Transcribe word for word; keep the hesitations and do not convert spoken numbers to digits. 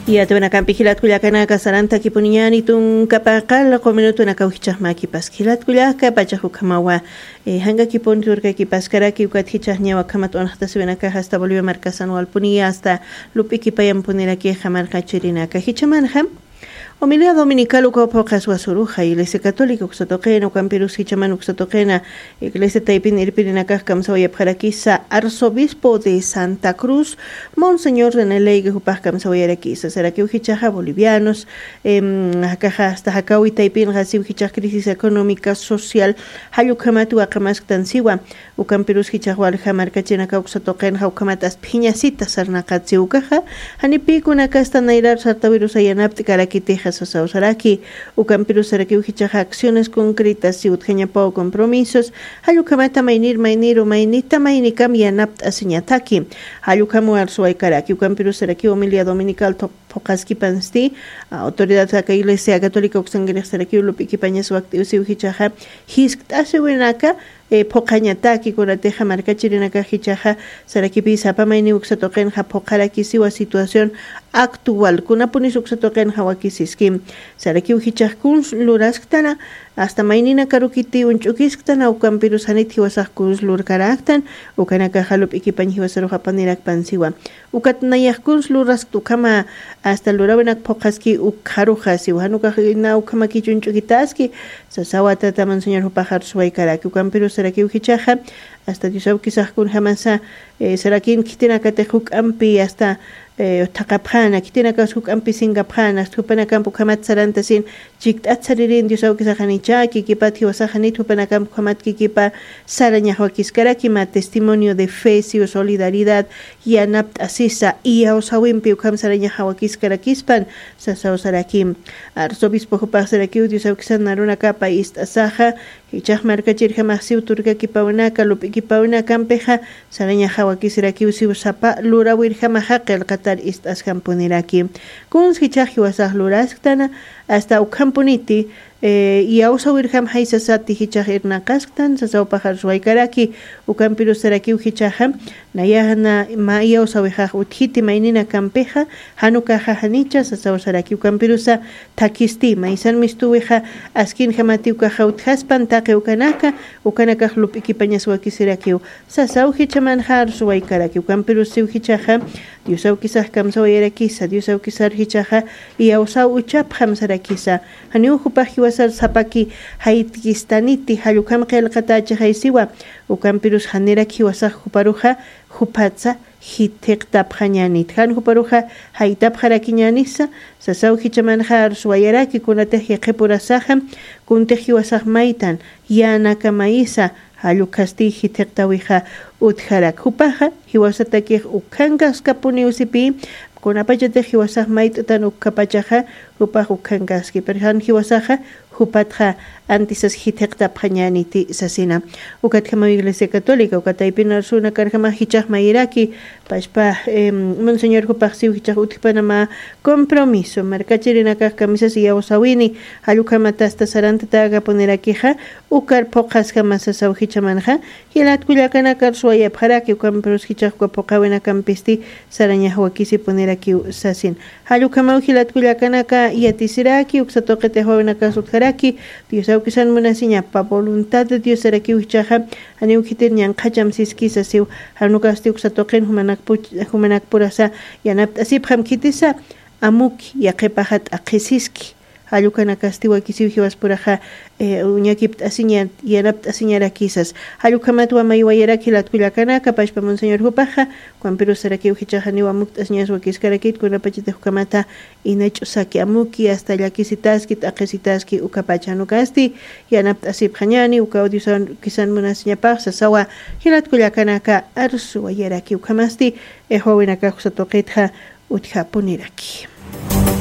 Yatiwanakampi jilatkullakanaka sarantakipuniñani tunkapaqal quminutunakaw jichaqmakipas jilatkullaka pachax ukhamawa. Jankakipuni turkakipaskaraki ukatjichaqñawa khamat unxtasiwinakax asta bolivia markasan walpuniya asta lup'ikipayampunirakixa markachirinaka jichamanxa. Humildad dominical ukaw phuqhaswasuruxa iglesia católica uksatuqina ukampirus jichaman uksatuqina iglesia taypin irpirinakax kamsawayapxarakisa arzobispo de santa cruz, monseñor reneleyga jupax kamsawayarakisa sarakiw jichaxa bolivianos. Jakaxa asta jakawi taypinxa siw jichax crisis económica social jallukhamat waqamasktan siwa. Ukampirus jichax walja markachinaka uksatuqinxa ukhamat asphiñasita sarnaqat siw ukaxa, janipïkunakasta nayrar sartawirusa yanapt'karakitixa sasaw saraki. Ukampirus sarakiw jichaxa acciones concretas siw utjañapaw compromisos jallukhamata maynir mayniru maynita maynikam yanapt'asiñataki. Jallukhamu arsuwaykaraki ukampirus sarakiw humildad dominical phuqhaskipansti. Autoridad aka iglesia católica uksankirix sarakiw lup'ikipañas wakt'iw siw jichaxa jiskt'asiwinaka phuqhañataki kunatixa markachirinakax jichaxa sarakipi sapa mayniw uksatuqinxa phuqharakisiwa situación actual kunapunis uksatuqinxa wakisiski. Sarakiw jichax kuns lurasktana asta mayninakaru kiti uñch'ukisktana ukampirus janit jiwasax kuns lurkaraktan. Ukanakaxa lup'ikipañ jiwasarux apanirakpan siwa. Ukat nayax kuns luraskt ukhama asta lurawinak phuqhaski ukxaruxa siwa jan ukax na ukhamakich uñch'ukitaski. Sasawa tata monseñor jupax arsuwaykaraki ukampirus sarakiw jichaxa asta dios awkisax kunjamasa sarakin khitinakatix juk'ampi asta thaqapxana khitinakas juk'ampi sinkapxana asta jupanakamp ukhamat sarantasin. Chikt'at saririn dios awkisax janicha kikipat jiwasax janit jupanakamp ukhamat kikipa sarañax wakiskaraki mä testimonio de fe siw solidaridad yanapt'asisa iyawsawimpi ukham sarañax jawakiskarakispan. Sasaw sarakim arzobispo jupax sarakiw dios awkisan narunakapa ist'asaxa jichax markachirjamax siw turkakipawinaka lup'ikipawinakampixa sarañax jawakisirakiw siw sapa lurawirjamaxa qillqatar ist'asjampuniraki. Kuns jichax jiwasax lurasktana asta ukhampuniti iyawsawirjam jaysasati jichax irnaqasktan sasawpaxar suwaykaraki. Ukampirus sarakiw jichaxa nayaxna mä iyawsawixax utjiti mayninakampixa jan ukaxa janicha sasaw saraki ukampirusa thakhisti maysan mistuwixa askinjamati ukaxa utjaspan taqi ukanaka ukanakax lup'ikipañas wakisirakiw. Sasaw jichhamanxa arsuwaykaraki ukampirus siw jichhaxa dios awkisax kamsawayarakisa dios awkisar jichhaxa iyawsaw uchapxam sarakisa. Janiw jupax jiwasar sapaki jaytkistaniti jall ukham qillqatächixay siwa. Ukampirus janirak jiwasax juparuxa juphatsa jithiqtapxañänit jan juparuxa jaytapxarakiñänisa. Sasaw jichhamanxa arsuwayaraki kunatix yaqhipurasaxa kuntix jiwasax maytan yänakamayisa jall ukhasti jithiqtäwixa utjarak jupaxa jiwasatakix ukkhankaskapuniw sipï. Kunapachatix jiwasax mayt'tan ukkhapachaxa jupax ukkhankaski pero jan jiwasaxa jupatxa antisas jithiqtapxañäniti sasina. Ukatjamaw iglesia católica uka taypin arsunakarjamax jichhax mayiraki pachpa monseñor jupax siw jichhax utjpanamä compromiso markachirinakax kamisas iyawsawini jall ukhamatasta sarantatäkapunirakixa. Ukar phuqhasjama sasaw jichhamanxa jilatkullakanakar suwayapxaraki ukampirus jichhax uka phuqhawinakampisti sarañax wakisipunirakiw sasin. Jall ukhamaw jilatkullakanaka yatisiraki uksa tuqitix wawinakas utjaraki dios awkisan munasiñapa voluntad de dios sarakiw jichhaxa janiw khitir ñanqhacham siskisa siw jan ukasti uksa tuqin jumanakpurasa yanapt'asipxam khitisa amuki yaqhipaxa t'aqhisiski. Jall ukanakasti wakisiw jiwaspuraxa uñakipt'asiña yanapt'asiñarakisas. Jall ukhamat wamaywayarak jilatkullakanaka pachpa monseñor jupaxa ukampirus sarakiw jichhax janiw amukt'asiñas wakiskarakit kunapachatix ukhamata inach'usaki amuki asta llakisitaski t'aqhisitaski ukapacha jan ukasti yanapt'asipxañäni ukaw dios awkisan munasiñapax sasawa. Jilatkullakanaka arsuwayaraki ukhamasti wawinakax uksa tuqitxa utjapuniraki.